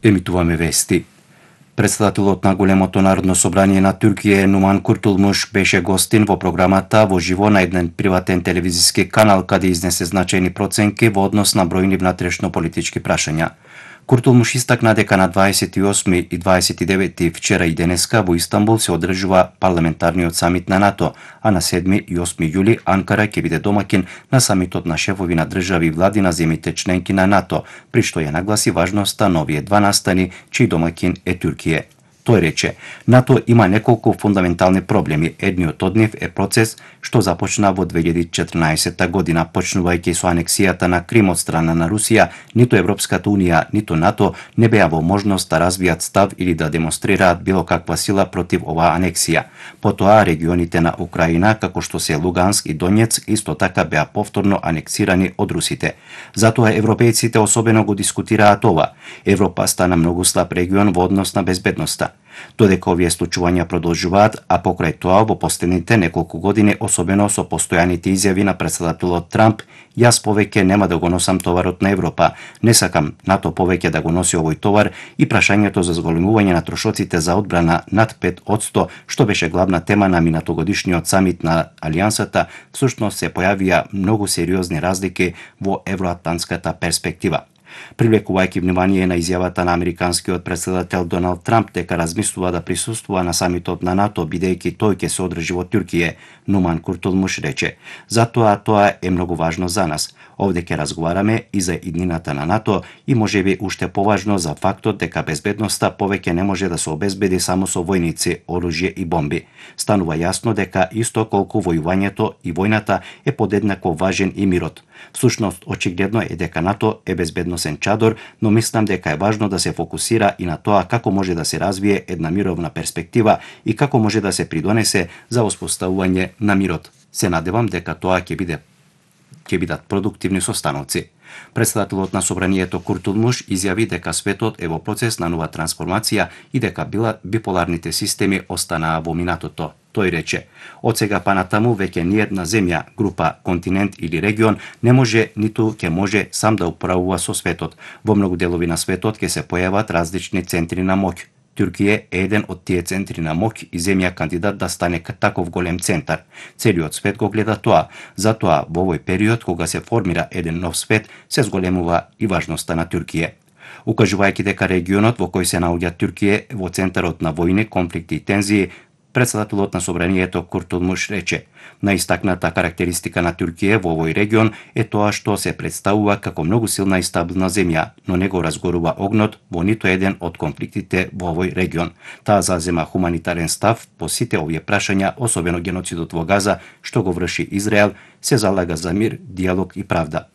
Емитуваме вести. Председателот на големото народно собрание на Туркија Нуман Куртулмуш беше гостин во програмата во живо на еден приватен телевизиски канал каде изнесе значајни проценки во однос на бројни внатрешно политички прашања. Куртулмуш истакна дека на 28 и 29 вчера и денеска во Истанбул се одржува парламентарниот самит на НАТО, а на 7 и 8 јули Анкара ќе биде домакин на самитот на шефови на држави и влади на земјите членки на НАТО, при што ја нагласи важноста на овие два настани, чиј домакин е Туркија. Тој рече, НАТО има неколку фундаментални проблеми. Едниот од нив е процес што започна во 2014 година, почнувајќи со анексијата на Крим од страна на Русија. Ниту Европската унија, ниту НАТО не беа во можност да развијат став или да демонстрираат било каква сила против оваа анексија. Потоа регионите на Украина, како што се Луганск и Донецк, исто така беа повторно анексирани од русите. Затоа европејците особено го дискутираат ова. Европа стана многу слаб регион во однос на безбедноста. Додека овие случувања продолжуваат, а покрај тоа во последните неколку години, особено со постојаните изјави на председателот Трамп, јас повеќе нема да го носам товарот на Европа, не сакам НАТО повеќе да го носи овој товар, и прашањето за зголемување на трошоците за одбрана над 5%, што беше главна тема на минатогодишниот самит на Алијансата, всушност се појавија многу сериозни разлики во евроатлантската перспектива. Привлекувајќи внимание на изјавата на американскиот председател Доналд Трамп дека размислува да присуствува на самитот на НАТО бидејќи тој ќе се одржи во Туркија, Нуман Куртулмуш рече: "Затоа тоа е многу важно за нас. Овде ќе разговараме и за иднината на НАТО и можеби уште поважно за фактот дека безбедноста повеќе не може да се обезбеди само со војници, оружје и бомби. Станува јасно дека исто колку војувањето и војната е подеднакво важен и мирот. Всушност, очигледно е дека НАТО е безбедносен чадор, но мислам дека е важно да се фокусира и на тоа како може да се развие една мировна перспектива и како може да се придонесе за воспоставување на мирот. Се надевам дека тоа ќе бидат продуктивни состаноци." Председателот на собранието Куртулмуш изјави дека светот е во процес на нова трансформација и дека биполарните системи останаа во минатото. Тој рече: "Од сега па натаму веќе ниедна земја, група, континент или регион не може ниту ќе може сам да управува со светот. Во многу делови на светот ќе се појават различни центри на моќ. Туркија е еден од тие центри на моќ и земја кандидат да стане таков голем центар. Целиот свет го гледа тоа. Затоа во овој период кога се формира еден нов свет, се зголемува и важноста на Туркија." Укажувајќи дека регионот во кој се наоѓа Туркија е во центарот на војни, конфликти и тензии, председателот на собранието Куртулмуш рече: "Наистакната карактеристика на Туркија во овој регион е тоа што се представува како многу силна и стабилна земја, но не го разгорува огнот во ниту еден од конфликтите во овој регион. Таа зазема хуманитарен став по сите овие прашања, особено геноцидот во Газа, што го врши Израел, се залага за мир, диалог и правда."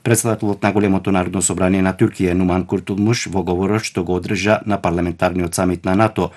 Председателот на големото народно собрание на Туркија Нуман Куртулмуш во говорот што го одржа на парламентарниот самит на НАТО,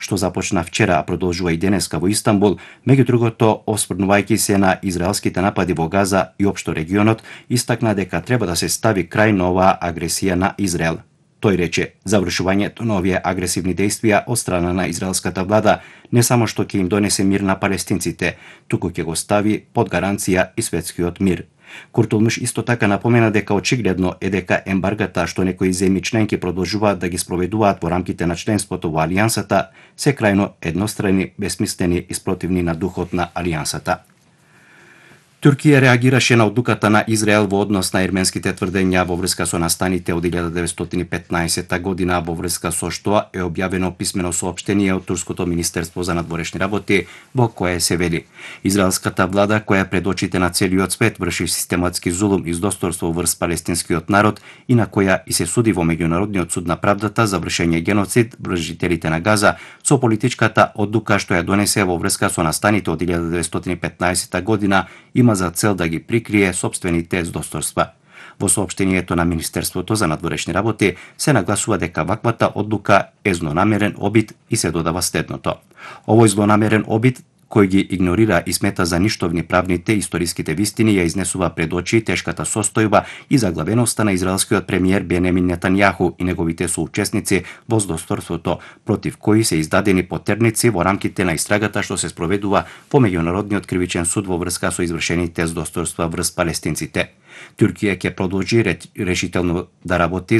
што започна вчера, а продолжува и денеска во Истанбул, меѓу другото осврнувајќи се на израелските напади во Газа и општо регионот, истакна дека треба да се стави крај на оваа агресија на Израел. Тој рече: "Завршувањето на овие агресивни действија од страна на израелската влада не само што ќе им донесе мир на палестинците, туку ќе го стави под гаранција и светскиот мир." Куртулмуш исто така напомена дека очигледно е дека ембаргата што некои земји членки продолжуваат да ги спроведуваат во рамките на членството во Алијансата се крајно еднострани, бесмислени и спротивни на духот на Алијансата. Туркија реагираше на одлуката на Израел во однос на ерменските тврдења во врска со настаните од 1915 година, во врска со што е објавено писмено соопштение од Турското министерство за надворешни работи, во кое се вели: "Израелската влада, која пред очите на целиот свет врши систематски зулум и издосторство врз палестинскиот народ и на која и се суди во меѓународниот суд на правдата за вршење геноцид врз жителите на Газа, со политичката одлука што ја донесе во врска со настаните од 1915 година, има за цел да ги прикрие сопствените издосторства." Во соопштението на Министерството за надворешни работи се нагласува дека ваквата одлука е злонамерен обид и се додава следното: "Овој злонамерен обид кој ги игнорира и смета за ништовни правните и историските вистини, ја изнесува пред очи тешката состојба и заглавеноста на израелскиот премиер Бенемин Нетањаху и неговите соучесници во злосторството, против кои се издадени потерници во рамките на истрагата што се спроведува во Меѓународниот кривичен суд во врска со извршените злосторства врз палестинците. Туркија ќе продолжи решително да работи за